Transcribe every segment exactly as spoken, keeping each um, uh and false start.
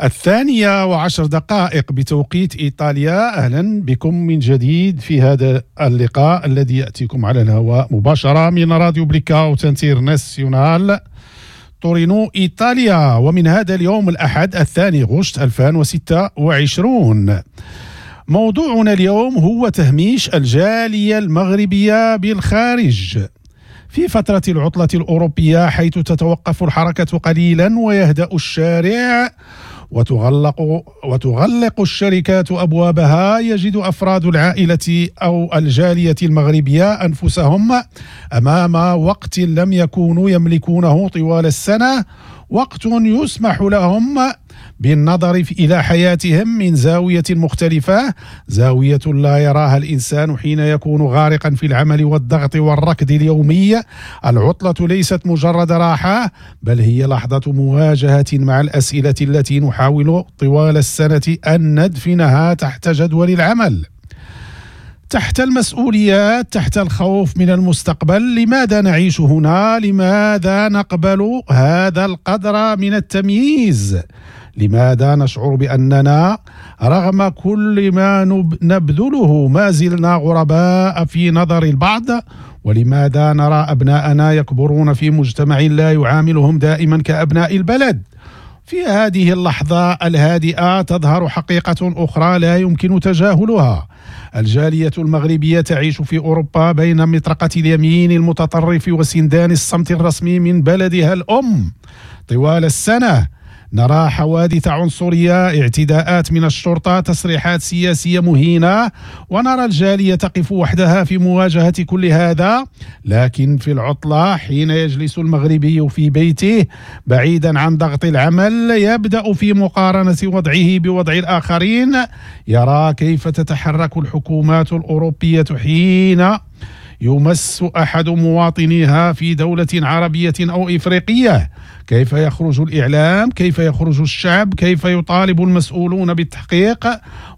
الثانية وعشر دقائق بتوقيت إيطاليا. أهلا بكم من جديد في هذا اللقاء الذي يأتيكم على الهواء مباشرة من راديو بليكاوت انترناسيونال تورينو إيطاليا، ومن هذا اليوم الأحد الثاني غشت ألفين وستة وعشرين. موضوعنا اليوم هو تهميش الجالية المغربية بالخارج. في فترة العطلة الأوروبية، حيث تتوقف الحركة قليلا ويهدأ الشارع وتغلق وتغلق الشركات أبوابها، يجد أفراد العائلة أو الجالية المغربية أنفسهم أمام وقت لم يكونوا يملكونه طوال السنة، وقت يسمح لهم بالنظر إلى حياتهم من زاوية مختلفة، زاوية لا يراها الإنسان حين يكون غارقا في العمل والضغط والركض اليومي. العطلة ليست مجرد راحة، بل هي لحظة مواجهة مع الأسئلة التي نحاول طوال السنة أن ندفنها تحت جدول العمل، تحت المسؤوليات، تحت الخوف من المستقبل. لماذا نعيش هنا؟ لماذا نقبل هذا القدر من التمييز؟ لماذا نشعر بأننا رغم كل ما نبذله ما زلنا غرباء في نظر البعض؟ ولماذا نرى أبناءنا يكبرون في مجتمع لا يعاملهم دائما كأبناء البلد؟ في هذه اللحظة الهادئة تظهر حقيقة أخرى لا يمكن تجاهلها: الجالية المغربية تعيش في أوروبا بين مطرقة اليمين المتطرف وسندان الصمت الرسمي من بلدها الأم. طوال السنة نرى حوادث عنصرية، اعتداءات من الشرطة، تصريحات سياسية مهينة، ونرى الجالية تقف وحدها في مواجهة كل هذا. لكن في العطلة، حين يجلس المغربي في بيته بعيدا عن ضغط العمل، يبدأ في مقارنة وضعه بوضع الآخرين. يرى كيف تتحرك الحكومات الأوروبية حين يمس أحد مواطنيها في دولة عربية أو إفريقية، كيف يخرج الإعلام، كيف يخرج الشعب، كيف يطالب المسؤولون بالتحقيق،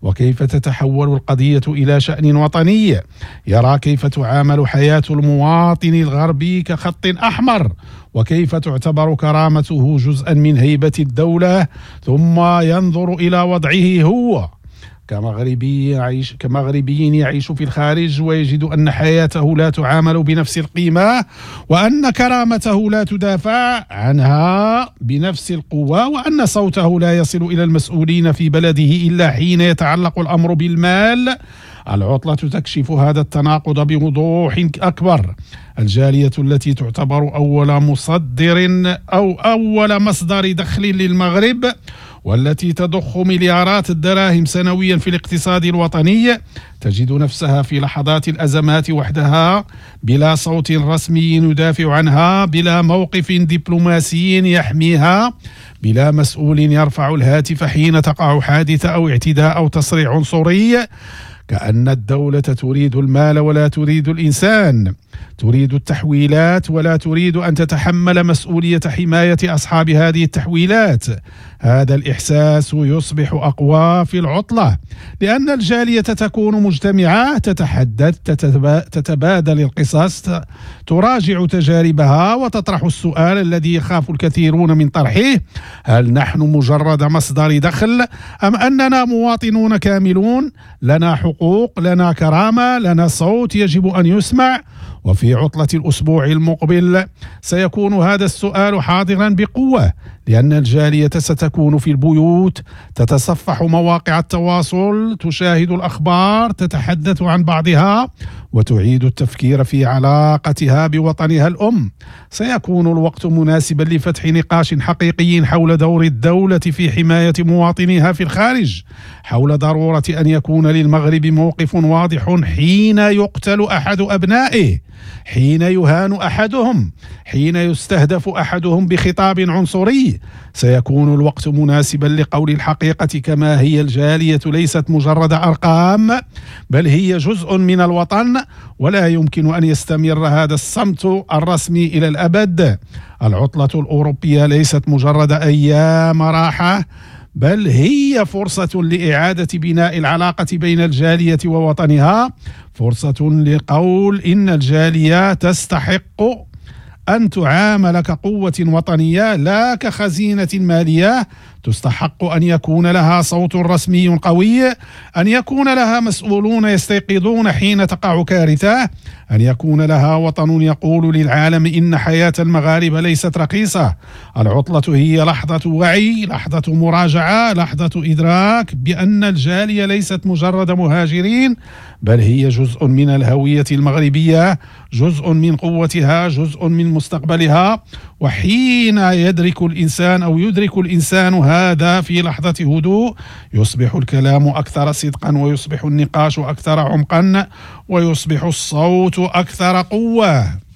وكيف تتحول القضية إلى شأن وطني. يرى كيف تعامل حياة المواطن الغربي كخط أحمر، وكيف تعتبر كرامته جزءا من هيبة الدولة. ثم ينظر إلى وضعه هو كمغربي يعيش كمغربي يعيش في الخارج، ويجد أن حياته لا تعامل بنفس القيمة، وأن كرامته لا تدافع عنها بنفس القوة، وأن صوته لا يصل إلى المسؤولين في بلده إلا حين يتعلق الأمر بالمال. العطلة تكشف هذا التناقض بوضوح أكبر. الجالية التي تعتبر أول مصدر أو أول مصدر دخل للمغرب، والتي تضخ مليارات الدراهم سنويا في الاقتصاد الوطني، تجد نفسها في لحظات الأزمات وحدها، بلا صوت رسمي يدافع عنها، بلا موقف دبلوماسي يحميها، بلا مسؤول يرفع الهاتف حين تقع حادثة أو اعتداء أو تصريح عنصري. كأن الدولة تريد المال ولا تريد الإنسان، تريد التحويلات ولا تريد أن تتحمل مسؤولية حماية أصحاب هذه التحويلات. هذا الإحساس يصبح أقوى في العطلة، لأن الجالية تكون مجتمعة، تتحدث، تتبادل القصص، تراجع تجاربها، وتطرح السؤال الذي يخاف الكثيرون من طرحه: هل نحن مجرد مصدر دخل أم أننا مواطنون كاملون، لنا حقوق، لنا كرامة، لنا صوت يجب أن يسمع؟ وفي عطلة الأسبوع المقبل سيكون هذا السؤال حاضرا بقوة، لأن الجالية ستكون في البيوت، تتصفح مواقع التواصل، تشاهد الأخبار، تتحدث عن بعضها، وتعيد التفكير في علاقتها بوطنها الأم. سيكون الوقت مناسبا لفتح نقاش حقيقي حول دور الدولة في حماية مواطنيها في الخارج، حول ضرورة أن يكون للمغرب موقف واضح حين يقتل أحد أبنائه، حين يهان أحدهم، حين يستهدف أحدهم بخطاب عنصري. سيكون الوقت مناسبا لقول الحقيقة كما هي: الجالية ليست مجرد أرقام، بل هي جزء من الوطن، ولا يمكن أن يستمر هذا الصمت الرسمي إلى الأبد. العطلة الأوروبية ليست مجرد أيام راحة، بل هي فرصة لإعادة بناء العلاقة بين الجالية ووطنها، فرصة لقول إن الجالية تستحق أن تعامل كقوة وطنية لا كخزينة مالية، تستحق أن يكون لها صوت رسمي قوي، أن يكون لها مسؤولون يستيقظون حين تقع كارثة، أن يكون لها وطن يقول للعالم إن حياة المغاربة ليست رخيصة. العطلة هي لحظة وعي، لحظة مراجعة، لحظة إدراك بأن الجالية ليست مجرد مهاجرين، بل هي جزء من الهوية المغربية، جزء من قوتها، جزء من مستقبلها. وحين يدرك الإنسان أو يدرك الإنسان هذا في لحظة هدوء، يصبح الكلام أكثر صدقا، ويصبح النقاش أكثر عمقا، ويصبح الصوت أكثر قوة.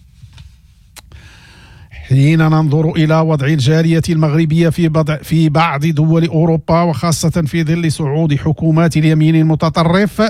حين ننظر إلى وضع الجالية المغربية في بضع في بعض دول أوروبا، وخاصة في ظل صعود حكومات اليمين المتطرف،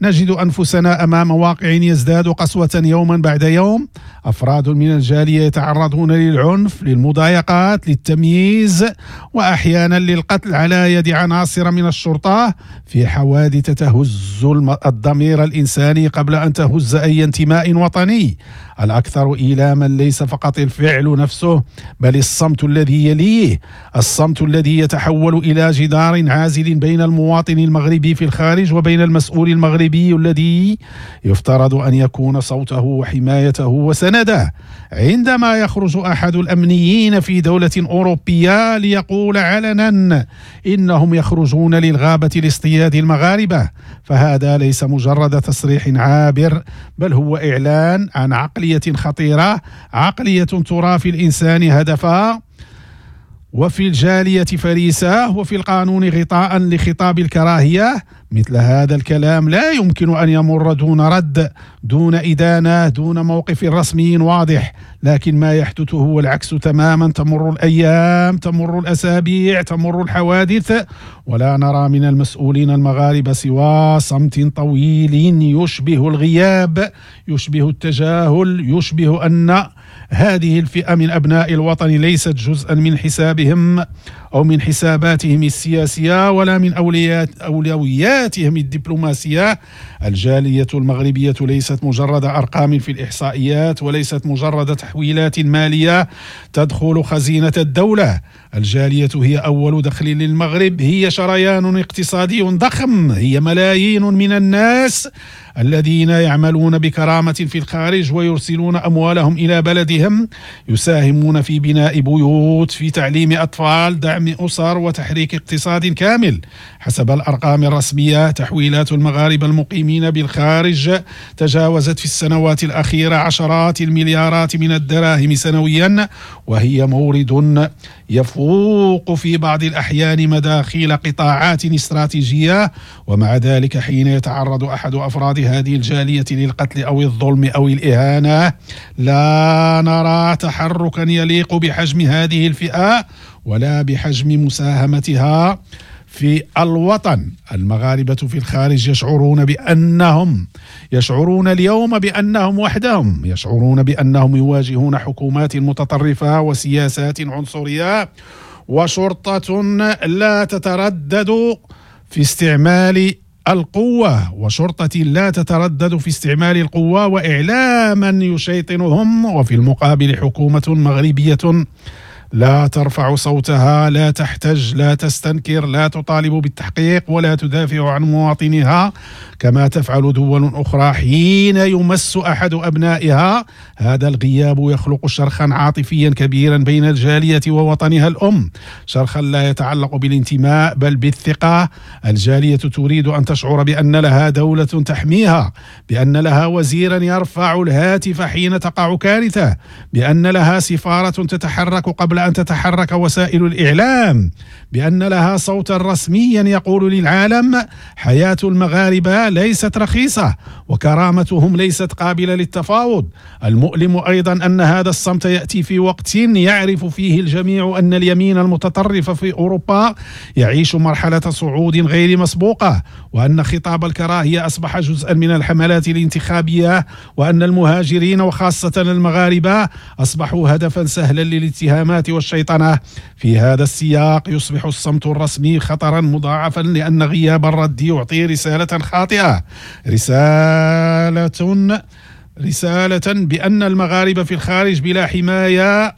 نجد أنفسنا أمام واقع يزداد قسوة يوما بعد يوم. أفراد من الجالية يتعرضون للعنف، للمضايقات، للتمييز، وأحيانا للقتل على يد عناصر من الشرطة، في حوادث تهز الضمير الإنساني قبل أن تهز أي انتماء وطني. الأكثر إيلاما ليس فقط الفعل نفسه، بل الصمت الذي يليه، الصمت الذي يتحول إلى جدار عازل بين المواطن المغربي في الخارج وبين المسؤول المغربي الذي يفترض أن يكون صوته وحمايته وسنده. عندما يخرج أحد الأمنيين في دولة أوروبية ليقول علنا إنهم يخرجون للغابة لاصطياد المغاربة، فهذا ليس مجرد تصريح عابر، بل هو إعلان عن عقلية خطيرة، عقلية ترى في الإنسان هدفا، وفي الجالية فريسة، وفي القانون غطاء لخطاب الكراهية. مثل هذا الكلام لا يمكن أن يمر دون رد، دون إدانة، دون موقف رسمي واضح. لكن ما يحدث هو العكس تماما. تمر الأيام، تمر الأسابيع، تمر الحوادث، ولا نرى من المسؤولين المغاربة سوى صمت طويل يشبه الغياب، يشبه التجاهل، يشبه أن هذه الفئة من أبناء الوطن ليست جزءا من حسابهم أو من حساباتهم السياسية ولا من أولوياتهم الدبلوماسية. الجالية المغربية ليست مجرد أرقام في الإحصائيات، وليست مجرد تحويلات مالية تدخل خزينة الدولة. الجالية هي أول دخل للمغرب، هي شريان اقتصادي ضخم، هي ملايين من الناس الذين يعملون بكرامة في الخارج ويرسلون أموالهم إلى بلدهم، يساهمون في بناء بيوت، في تعليم أطفال، دعم أسر، وتحريك اقتصاد كامل. حسب الأرقام الرسمية، تحويلات المغاربة المقيمين بالخارج تجاوزت في السنوات الأخيرة عشرات المليارات من الدراهم سنويا، وهي مورد يفوق في بعض الأحيان مداخيل قطاعات استراتيجية. ومع ذلك حين يتعرض أحد أفراد هذه الجالية للقتل أو الظلم أو الإهانة، لا نرى تحركا يليق بحجم هذه الفئة ولا بحجم مساهمتها في الوطن. المغاربة في الخارج يشعرون بأنهم يشعرون اليوم بأنهم وحدهم، يشعرون بأنهم يواجهون حكومات متطرفة وسياسات عنصرية وشرطة لا تتردد في استعمال القوة وشرطة لا تتردد في استعمال القوة وإعلاما يشيطنهم، وفي المقابل حكومة مغربية لا ترفع صوتها، لا تحتج، لا تستنكر، لا تطالب بالتحقيق، ولا تدافع عن مواطنها كما تفعل دول أخرى حين يمس أحد أبنائها. هذا الغياب يخلق شرخا عاطفيا كبيرا بين الجالية ووطنها الأم، شرخا لا يتعلق بالانتماء بل بالثقة. الجالية تريد أن تشعر بأن لها دولة تحميها، بأن لها وزيرا يرفع الهاتف حين تقع كارثة، بأن لها سفارة تتحرك قبل أن تتحرك وسائل الإعلام، بأن لها صوتا رسميا يقول للعالم حياة المغاربة ليست رخيصة وكرامتهم ليست قابلة للتفاوض. المؤلم أيضا أن هذا الصمت يأتي في وقت يعرف فيه الجميع أن اليمين المتطرف في أوروبا يعيش مرحلة صعود غير مسبوقة، وأن خطاب الكراهية أصبح جزءا من الحملات الانتخابية، وأن المهاجرين وخاصة المغاربة أصبحوا هدفا سهلا للاتهامات والشيطنة. في هذا السياق يصبح الصمت الرسمي خطرا مضاعفا، لأن غياب الرد يعطي رسالة خاطئة، رسالة رسالة بأن المغاربة في الخارج بلا حماية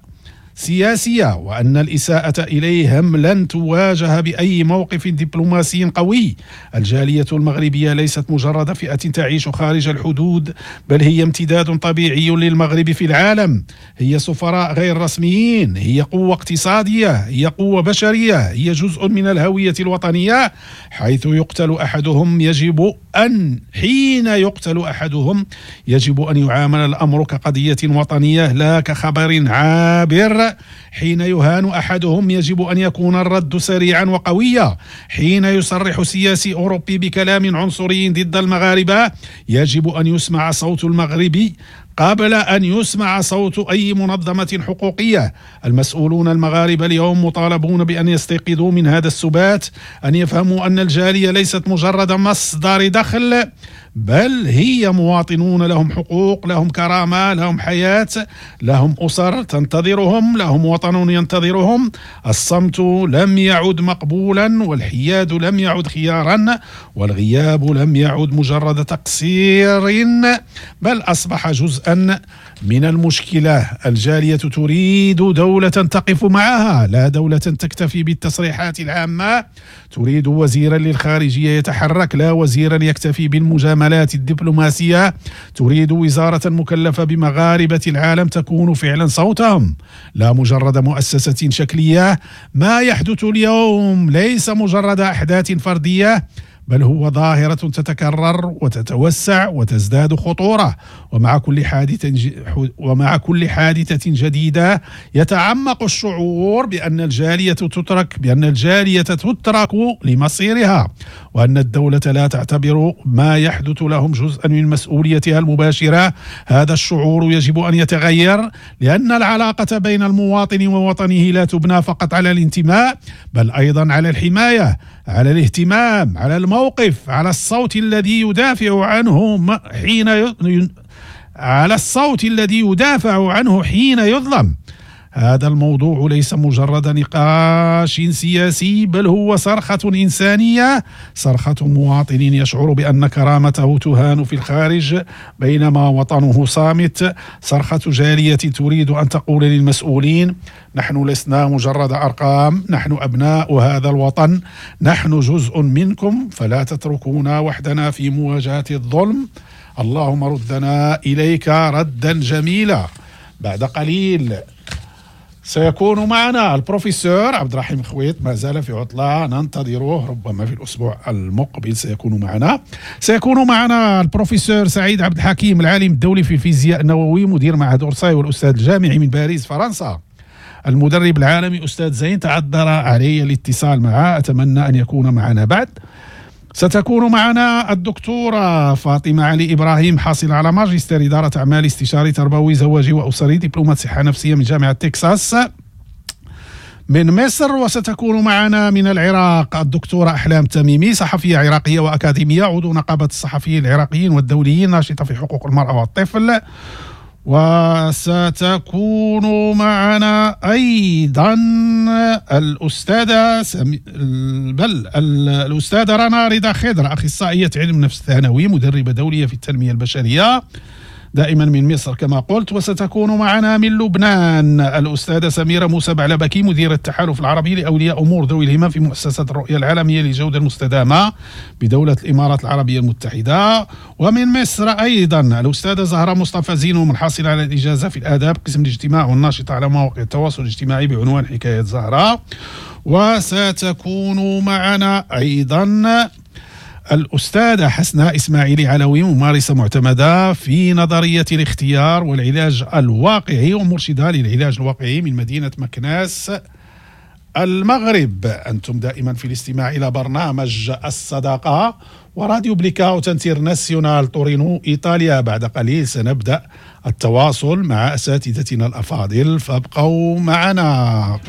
سياسية، وأن الإساءة إليهم لن تواجه بأي موقف دبلوماسي قوي. الجالية المغربية ليست مجرد فئة تعيش خارج الحدود، بل هي امتداد طبيعي للمغرب في العالم. هي سفراء غير رسميين، هي قوة اقتصادية، هي قوة بشرية، هي جزء من الهوية الوطنية. حيث يقتل أحدهم يجب أن حين يقتل أحدهم يجب أن يعامل الأمر كقضية وطنية لا كخبر عابر. حين يهان أحدهم يجب أن يكون الرد سريعا وقويا. حين يصرح سياسي أوروبي بكلام عنصري ضد المغاربة يجب أن يسمع صوت المغربي قبل أن يسمع صوت أي منظمة حقوقية. المسؤولون المغاربة اليوم مطالبون بأن يستيقظوا من هذا السبات، أن يفهموا أن الجالية ليست مجرد مصدر دخل، بل هي مواطنون لهم حقوق، لهم كرامة، لهم حياة، لهم أسر تنتظرهم، لهم وطن ينتظرهم. الصمت لم يعد مقبولا، والحياد لم يعد خيارا، والغياب لم يعد مجرد تقصير، بل أصبح جزءا من المشكلة. الجالية تريد دولة تقف معها، لا دولة تكتفي بالتصريحات العامة. تريد وزيرا للخارجية يتحرك، لا وزيرا يكتفي بالمجاملات الدبلوماسية. تريد وزارة مكلفة بمغاربة العالم تكون فعلا صوتهم، لا مجرد مؤسسة شكلية. ما يحدث اليوم ليس مجرد أحداث فردية، بل هو ظاهرة تتكرر وتتوسع وتزداد خطورة. ومع كل حادثة ومع كل حادثة جديدة يتعمق الشعور بأن الجالية تترك بأن الجالية تترك لمصيرها، وأن الدولة لا تعتبر ما يحدث لهم جزءا من مسؤوليتها المباشرة. هذا الشعور يجب أن يتغير، لأن العلاقة بين المواطن ووطنه لا تبنى فقط على الانتماء، بل أيضا على الحماية، على الاهتمام، على الموقف، على الصوت الذي يدافع عنه حين ي... على الصوت الذي يدافع عنه حين يظلم. هذا الموضوع ليس مجرد نقاش سياسي، بل هو صرخة إنسانية، صرخة مواطن يشعر بأن كرامته تهان في الخارج بينما وطنه صامت، صرخة جالية تريد أن تقول للمسؤولين: نحن لسنا مجرد أرقام، نحن أبناء هذا الوطن، نحن جزء منكم، فلا تتركونا وحدنا في مواجهة الظلم. اللهم ردنا إليك ردا جميلا. بعد قليل سيكون معنا البروفيسور عبد الرحيم خويط، ما زال في عطلة، ننتظره ربما في الأسبوع المقبل سيكون معنا. سيكون معنا البروفيسور سعيد عبد الحكيم، العالم الدولي في الفيزياء النووي، مدير معهد أورساي والأستاذ الجامعي من باريس فرنسا. المدرب العالمي أستاذ زين تعذر علي الاتصال معه، أتمنى أن يكون معنا بعد. ستكون معنا الدكتورة فاطمة علي إبراهيم، حاصلة على ماجستير إدارة أعمال، استشاري تربوي زواجي وأسري، دبلومة صحة نفسية من جامعة تكساس من مصر. وستكون معنا من العراق الدكتورة أحلام تميمي، صحفية عراقية وأكاديمية، عضو نقابة الصحفيين العراقيين والدوليين، ناشطة في حقوق المرأة والطفل. وستكون معنا أيضا الأستاذة سمي... بل الأستاذة رنا رضا خضر، أخصائية علم نفس ثانوي، مدربة دولية في التنمية البشرية، دائما من مصر كما قلت. وستكون معنا من لبنان الأستاذة سميرة موسى بعلبكي، مديرة التحالف العربي لأولياء أمور ذوي الهمم في مؤسسة الرؤية العالمية للجودة المستدامة بدولة الإمارات العربية المتحدة. ومن مصر أيضا الأستاذة زهرة مصطفى زينو، الحاصلة على الإجازة في الآداب قسم الاجتماع والناشطة على مواقع التواصل الاجتماعي بعنوان حكاية زهرة. وستكون معنا أيضا الأستاذة حسناء إسماعيلي علوي، ممارسة معتمدة في نظرية الاختيار والعلاج الواقعي ومرشدة للعلاج الواقعي من مدينة مكناس المغرب. أنتم دائما في الاستماع إلى برنامج الصداقة وراديو بليكاوت انترناسيونال تورينو إيطاليا. بعد قليل سنبدأ التواصل مع أساتذتنا الأفاضل، فابقوا معنا.